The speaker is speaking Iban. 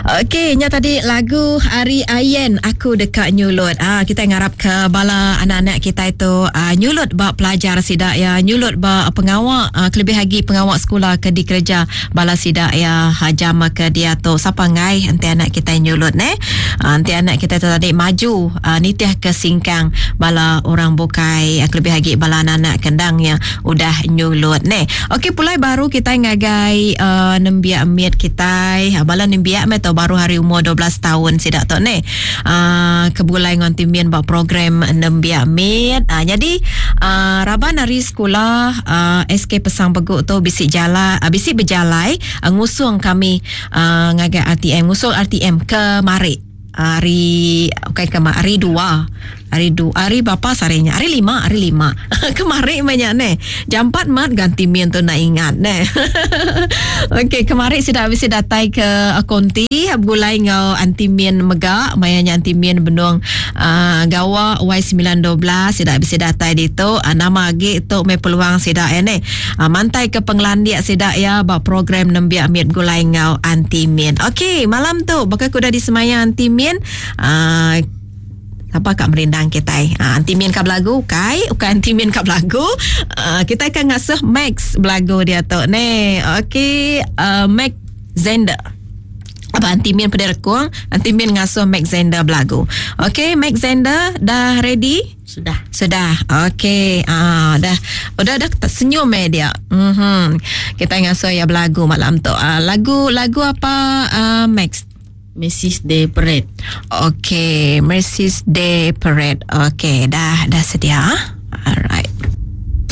Okey, nya tadi lagu ari Ayen Aku Deka Nyulut. Ah kita ngarap ke bala anak-anak kita itu ah, nyulut ba pelajar sida ya, nyulut ba pengawa ah, kelebih agi pengawa sekula ke dikereja bala sida ya ah, jam ke diatu. Sapa enggai enti anak kita nyulut neh. Ah, enti anak kita tu tadi maju ah, nitih ke singkang bala orang bukai ah, kelebih agi bala anak-anak ke endang ya udah nyulut neh. Okey pulai baru kitai ngagai uh, nembiak mit kitai. Uh, bala nembiak meh tu baru hari umur 12 tahun sida tu neh. Uh, ke begulai ngan timin ba program nembiak mit. Uh, jadi uh, raban ari sekula uh, SK Pesang Begu tu bisi jala uh, bisi bejalai uh, ngusung kami uh, ngagai RTM ngusung RTM ke mari. Hari ukai ke hari dua hari du hari berapa sehari nya hari lima hari lima kemari meh nya neh jampat mat ganti min tu nak ingat neh okey kemari sida bisi datai ke konti begulai enggau anti min mega maya nya anti min benung uh, gawa Y912 sida bisi datai ditu uh, nama agi tu meh peluang sida ya neh uh, mantai ke pengelandik sida ya ba program nembiak mit begulai enggau Aunty Min. Okey, malam tu baka ke udah disemaya Aunty Min uh, apa ka merindang kitai. Uh, Aunty Min ka belagu ukai, ukai Aunty Min ka belagu. Uh, kitai ka ngasuh Max belagu dia tu ne. Okey, uh, Max Zender. Apa Aunty Min pedih rekung, Aunty Min ngasuh Max Zender belagu. Okey, Max Zender dah ready? Sudah. Sudah. Okey. Ah dah. Udah dah senyum eh dia. Mhm. Kita ngasuh ya belagu malam tu. Ah, lagu lagu apa uh, Max? Mrs. Day Parade. Okey, Mrs. Day Parade. Okey, dah dah sedia. Alright.